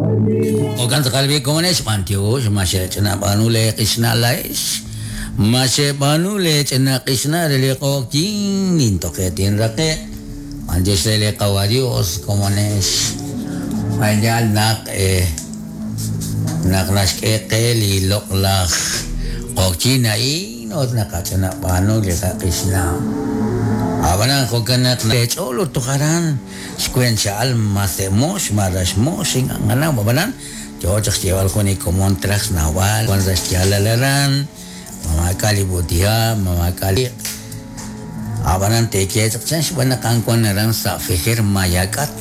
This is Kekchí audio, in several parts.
Jo'kan tz'aqal b'i' komonex, b'antiox ma xe'ch'ina b'aanu leeq'ixna' laa'ex, ma xe'b'aanu leech'ina q'ixna' re li q'oqyink nintoqe tinraqe'q, b'antiox re li Qawa' Dios komonex, a'yaal naq naq naxk'e qe li loq'laj q'oqyink a'in ut naqach'ina b'aanu li qaq'ixna'. Ab'anan jo'kan naq leech'ool ut toj aran Xweent xa'al ma se'mox ma raxmox ink'a' nqanaw ab'anan yo chaq xyeeb'al jun li komon traj xnawb'al wan sa' xyaalal aran ma maak'a' li b'uutiha' ma maak'a' li iq' ab'anan teeye chaq chan xb'aan naq a'an wan aran sa' Fejer Mayak'at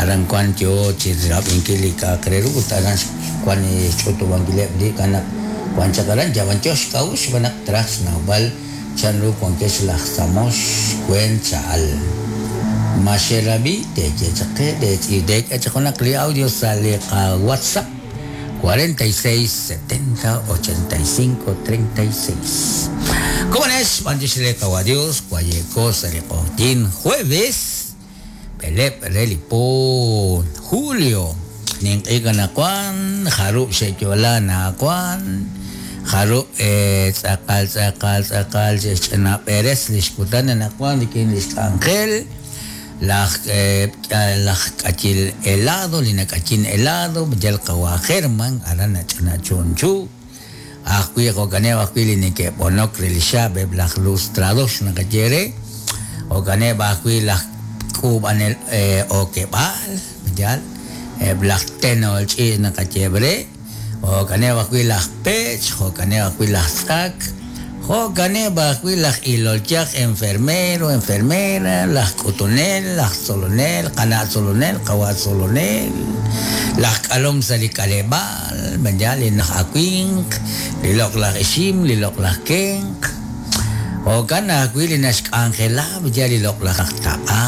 aran wan yo chi rab'inkil li k'a'aq re ru ut aran wan xch'utub'ankileb' li k'a' naq wan chaq aran yab'an yo xk'a'uxl xb'aan naq traj xnawb'al Chanru wankex laj Samox weent cha'al. Ma xerab'i? Teeye chaq qe, teek'e chaq junaq li audio sa' li qaWhatsApp 46 70 85 36. Komonex, b'antiox re Qawa' Dios, waye'ko sa' li q'oqyink jueves b'eleb' re li po julio. Ninq'ehik anaqwan, jarub' xe'yo'la anaqwan, jarub' tz'aqal tz'aqal tz'aqal xe'xch'ina b'eres li xkutan anaqwan rik'in li xk'anjel laj laj k'ayil helado li nak'ayin helado yal qawa' German aran nach'ina chunchu. Ajwi' jo'kaneb' ajwi' li neke'b'onok re li xaab' eb' laj lustrador naqaye re, jo'kaneb' ajwi' laj k'uub'anel okeb'aal, yaal, eb' laj tenol ch'iich' naqayeheb' re, jo'kaneb' ajwi' laj pech', jo'kaneb' ajwi' laj tz'ak, jo'kaneb' ajwi' laj ilol yaj, enfermero, enfermera, laj k'utunel, laj tzolonel, qana' tzolonel, qawa' tzolonel, laj k'alom sa' li k'aleb'aal. Yaal li naj awinq, li loq'laj ixim, li loq'laj kenq. Jo'kan ajwi' li naxk'anjela yaal li loq'laj aj taq'a.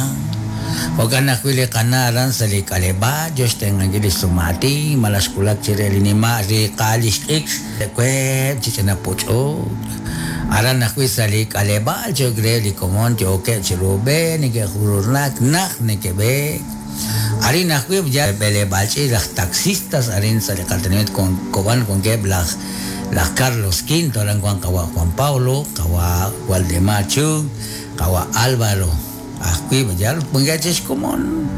Jo'kan ajwi' li qana' aran sa' li k'aleb'aal yo xtenq'ankil li xsum'aatin malaj xwulak chire li nima' riiqaal li xt'ikr web' chi ch'ina puch'uk. Aran ajwi' sa' li k'aleb'aal cho'q re li komon yookeb' chiru b'e neke'jururnak najt neke'b'eek. Arin ajwi' yal b'eleb'aal ch'iich' laj taxistas arin sa' li qatenamit Koban wankeb' laj laj Carlos Quinto aran wan qawa' Juan Pablo, qawa' Waldemar Chung, qawa' Alvaro ajwi' yal wankeb' chik xkomon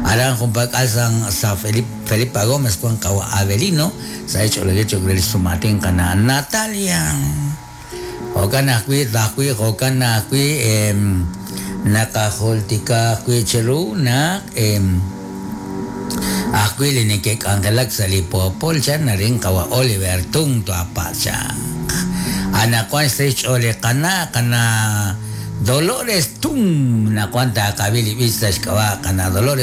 aran junpak'al san sa Felipa Gómez wan qawa' Avelino sa' xch'oolejil cho'q re li xsum'aatin qana' Natalia. Jo'kan ajwi', ajwi' jo'kan ajwi' naqajultika ajwi' cheru naq ajwi' li neke'k'anjelak sa' li poopol chan arin qawa' Oliver Tung twapa' chaq. Anaqwan xsahil xch'ool li qana' qana' Dolores Tung naqwan taaqab'i li b'ich sa' xk'ab'a' qana' Dolores.